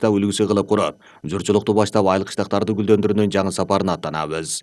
кышта үлгүсү кылып куруп, журчулукту баштап айыл кыштактарды гүлдөндүрүүнүн жаңы сапарына аттанабыз.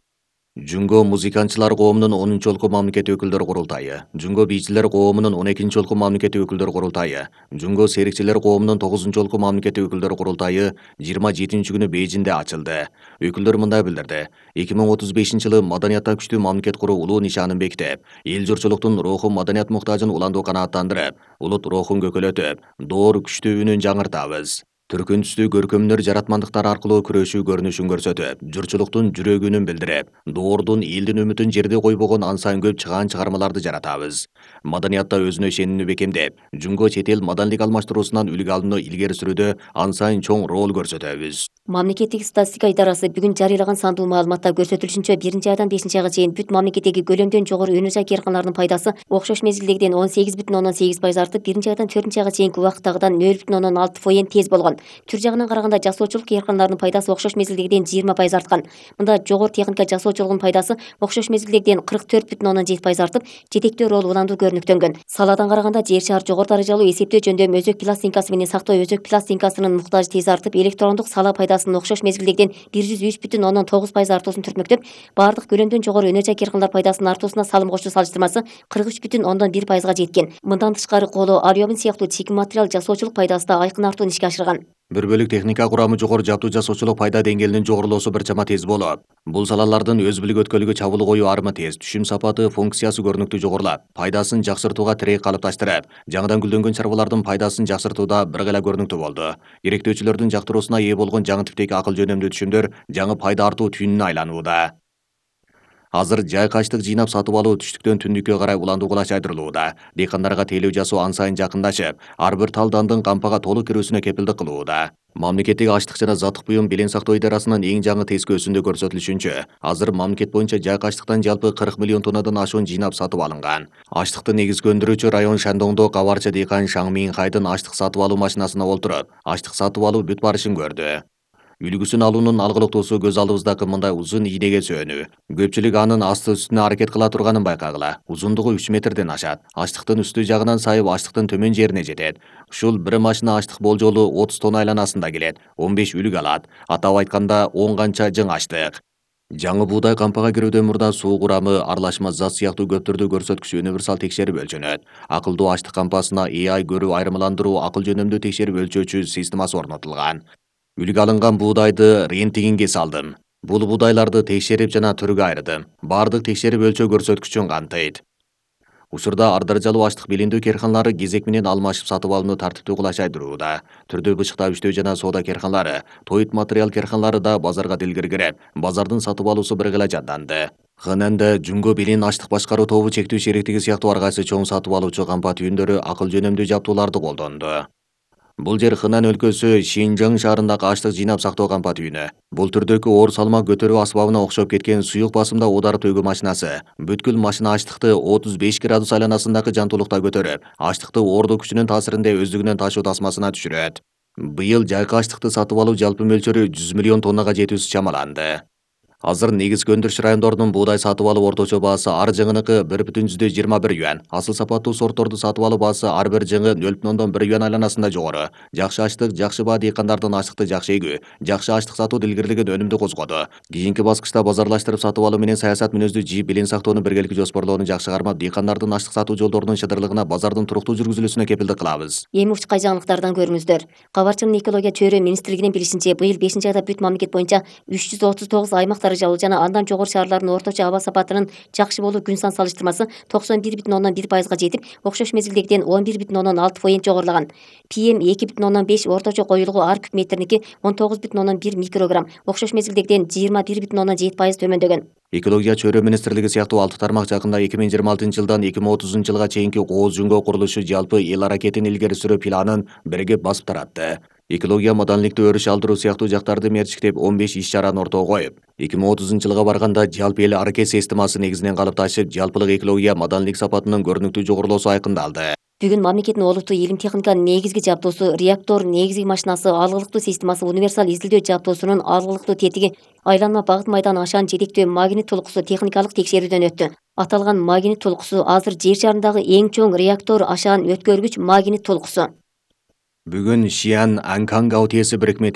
Жүнгө музыкантчылар коомунун 10-олку мамлекеттик өкүлдөр курултайы, Жүнгө бийчилер коомунун 12-олку мамлекеттик өкүлдөр курултайы, Жүнгө серикчилер коомунун 9-олку мамлекеттик өкүлдөр курултайы 27-күнү Бейжиңде ачылды. Өкүлдөр мындай билдирди: 2035-жылы маданиятта күчтүү мамлекет куруу улуу нишанын бекитип, эл журчулуктун руху маданият муктажын уландуу канааттандырып, улут рухун көкөлөтүп, доор күчтүү үнүн жаңыртабыз. Түркүн түстүү көркөмдөр жаратмандыктар аркылуу күрөшүү көрүнүшүн көрсөтүп, журчулуктун жүрөгүнүн билдирип, доордун элдин үмүтүн жерде койбогон ансайын көп чыгаан чыгармаларды жаратабыз. Маданиятта өзүнө ишенимини бекемдеп, Жүнгө чет эл маданийлик алмаштыруусунан үлгү алууну илгери сүрүүдө ансайын чоң роль көрсөтөбүз. Мамлекеттик статистика идарасы бүгүн жарыялаган сандуу маалыматта көрсөтүлүшүнчө 1-айдан 5-айга чейин бүт мамлекеттеги көлөмдөн жогору өнөр жай керканаларынын пайдасы окшош мезгилдегиден 18,8% артып, 1-айдан 4-айга чейинки убакыттагыдан 0,6% тез болгон. Түр жагынан караганда жасоочулук керканаларынын пайдасы окшош мезгилдегиден 20% арткан. Мында жогору техника жасоочулугунун пайдасы окшош мезгилдегиден 44,7% артып, жетектөө ролу уландуу көрүнүктөнгөн. Саладан караганда жер шаар жогору даражалуу эсептөө жөндөм өзөк пластинкасы менен сактоо өзөк пластинкасынын муктажы тез артып, электрондук сала пайдасынын окшош мезгилдегиден 103,9% артуусун түртмөктөп, баардык көлөмдөн жогору өнөр жай керканалар пайдасынын артуусуна салым кошуу салыштырмасы 43,1%га жеткен. Мындан тышкары коло, алюмин сыяктуу чийим материал жасоочулук пайдасы да айкын артууну ишке ашырган. Бир бөлүк техника курамы жогору жаптуу жасоочулук пайда деңгээлинин жогорулоосу бир чама тез болот. Бул салалардын өз билик өткөлүгү чабуул коюу армы тез, түшүм сапаты, функциясы көрүнүктүү жогорулап, пайдасын жакшыртууга тирек калыпташтырып, жаңыдан гүлдөнгөн чарбалардын пайдасын жакшыртууда бир гана көрүнүктүү болду. Керектөөчүлөрдүн жактыруусуна ээ болгон жаңы типтеги акыл жөнөмдүү түшүмдөр жаңы пайда артуу түйүнүнө айланууда. Азыр жайкы ачлык жыйнап сатып алуу түштүктөн түндүккө карай уландуу кылач айдырылууда. Дыйкандарга тейлөө жасоо ансайын жакындашып, ар бир тал дандын кампага толук кирүүсүнө кепилдик кылууда. Мамлекеттик ачлык жана заттык буюм белең сактоо идарасынын эң жаңы тескөөсүндө көрсөтүлүшүнчө, азыр мамлекет боюнча жайкы ачлыктан жалпы 40 миллион тоннадан ашуун жыйнап сатып алынган. Ачлыкты негизги өндүрүүчү район Шандоңдо кабарчы дыйкан Шаң Минхайдын ачлык сатып алуу машинасына олтуруп, ачлык сатып алуу бүт барышын көрдү. Үлгүсүн алуунун алгылыктуусу көз алдыбыздагы мындай узун ийнеге сөөнүү. Көпчүлүк анын асты үстүнө аракет кыла турганын байкагыла. Узундугу 3 метрден ашат. Ачлыктын үстү жагынан сайып ачлыктын төмөн жерине жетет. Ушул бир машина ачлык болжолу 30 тонна айланасында келет. 15 үлүк алат. Атап айтканда 10 канча жың ачлык. Жаңы буудай кампага кирүүдөн мурда суу курамы, аралашма зат сыяктуу көп түрдүү көрсөткүч универсал текшерип өлчөнөт. Акылдуу ачлык кампасына AI көрүү айырмаландыруу акыл жөнөмдүү текшерип өлчөөчү системасы орнотулган. Үлгү алынган буудайды рентгенге салдым. Бул буудайларды текшерип жана түргө айырдым. Бардык текшерип өлчөө көрсөткүчүн камтыйт. Учурда ар даражалуу ачлык билиндүү керканалары кезек менен алмашып сатып алууну тартиптүү кылач айдырууда. Түрдүү бычыктап иштөө жана соода керканалары, тоют материал керканалары да базарга дилгири кирип, базардын сатып алуусу бир гана жанданды. ХНН Жүнгө Билин ачлык башкаруу тобу чектүү шериктиги сыяктуу ар кайсы чоң сатып алуучу кампа түйүндөрү акыл жөнөмдүү жаптууларды колдонду. Бул жер Хынан өлкөсү Шинжаң шаарындагы ачлык жыйнап сактоо кампа түйүнү. Бул түрдөгү оор салмак көтөрүү асбабына окшоп кеткен суюк басымда оодарып төгүү машинасы. Бүткүл машина ачлыкты 35 градус айланасындагы жантуулукта көтөрүп, ачлыкты оордуу күчүнүн таасиринде өздүгүнөн ташуу тасмасына түшүрөт. Быйыл жайкы ачлыкты сатып алуу жалпы мөлчөрү 100 миллион тоннага жетүүсү чамаланды. Азыр негизги өндүрүш райондорунун буудай сатып алуу орточо баасы ар жыңыныкы 1,21 юан, асыл сапаттуу сортторду сатып алуу баасы ар бир жыңы 0,1 юан айланасында жогору. Жакшы ачлык, жакшы баа дыйкандардын ачлыкты жакшы эгүү, жакшы ачлык сатуу илгерилеген өнүмдү козгоду. Кийинки баскычта базарлаштырып сатып алуу менен саясат мүнөздүү жийип билин сактоону биргеликте жоспорлоону жакшы кармап, дыйкандардын ачлык сатуу жолдорунун чыдырлыгына, базардын туруктуу жүргүзүлүүсүнө кепилдик кылабыз. Эми учкай жаңылыктардан көрүңүздөр. Кабарчынын экология чөйрө министрлигинин билишинче, быйыл 5-айда бүт мамлекет боюнча 339 аймак даражалуу жана андан жогору шаарлардын орточо аба сапатынын жакшы болуу күн сан салыштырмасы 91,1%га жетип, окшош мезгилдегиден 11,6% жогорулаган. PM 2,5 орточо коюлугу ар куб метриники 19,1 микрограмм, окшош мезгилдегиден 21,7% төмөндөгөн. Экология чөйрө министрлиги сыяктуу 6 тармак жакында 2026-жылдан 2030-жылга чейинки кооз жүнгө курулушу жалпы эл аракетин илгери сүрүү планын биригип басып таратты. Экология маданийликти өрүш алдыруу сыяктуу жактарды мерчиктеп 15 иш-чараны ортого коюп, 2030-жылга барганда жалпы эл аракет системасы негизинен калыпташып, жалпылык экология маданийлик сапатынын көрүнүктүү жогорулоосу айкындалды. Бүгүн мамлекеттин олуттуу илим техниканын негизги жабдуусу, реактор негизги машинасы, алгылыктуу системасы, универсал изилдөө жабдуусунун алгылыктуу тетиги, айланма багыт майдан ашан жетектөө магнит толкусу техникалык текшерүүдөн өттү. Аталган магнит толкусу азыр жер шарындагы эң чоң реактор ашан өткөргүч магнит толкусу. Бүгүн Шиан Анканг АОТС бирикме